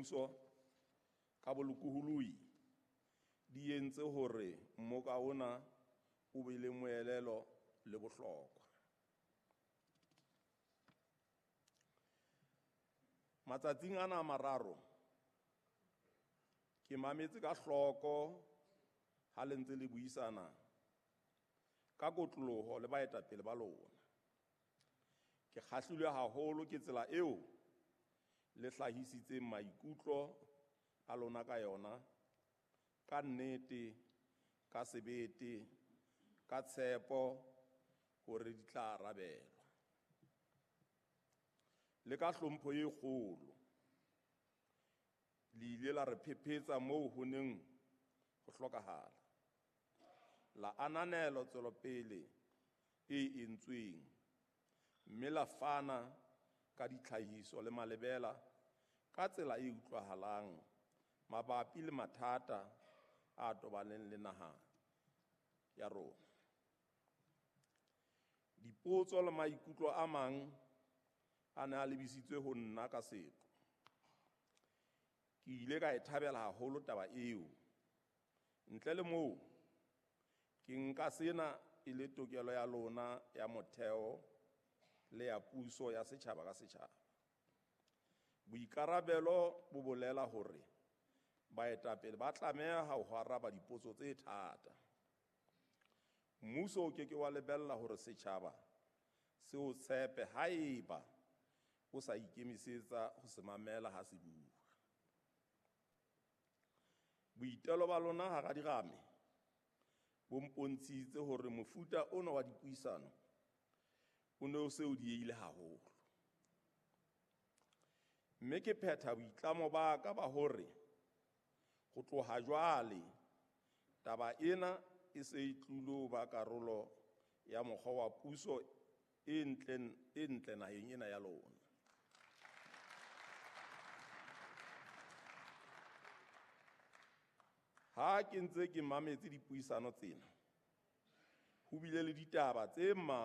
mmuso ka bolokolohi di entse hore mmoka ona o be le moelelo le bohlokwa. Matsatsing ana a mararo ke mametse ka hloko ha le ntse le buisana ka kotloloho le baetapele ba lona. Ke kgahlilwe haholo ke tsela eo le hlahisitseng maikutlo a lona ka yona, ka nnete, ka sebete, ka tshepo hore di tla arabelwa. Le ka hlompho e kgolo, le ile la re phephetsa moo ho neng ho hlokahala. La ananela tswelopele e entsweng, mme la fana ka ditlhahiso le malebela ka tsela e utlwahalang mabapi le mathata a tobaneng le naha ya rona. Dipotso le maikutlo a mang a ne a lebisitswe ho nna ka seqo. Ke ile ka e thabela haholo taba eo. Ntle le moo, ke nka sena e le tokelo ya lona ya motheo le ya puso ya setjhaba ka setjhaba. Boikarabelo bo bolela hore baetapele ba tlameha ho araba dipotso tse thata. Mmuso o ke ke wa lebella hore setjhaba se o tshepe haeba o sa ikemisetsa ho se mamela ha se bua. Boitelo ba lona hara dirame bo mpontshitse hore mofuta ona wa dipuisano o ne o se o diehile haholo. Mme ke phetha boitlamo ba ka ba hore ho tloha jwale taba ena e se e tlilo ba karolo ya mokgwa wa puso e ntle naheng ena ya lona. Ha ke ntse ke mametse dipuisano tsena, ho bile le ditaba tse mmalwa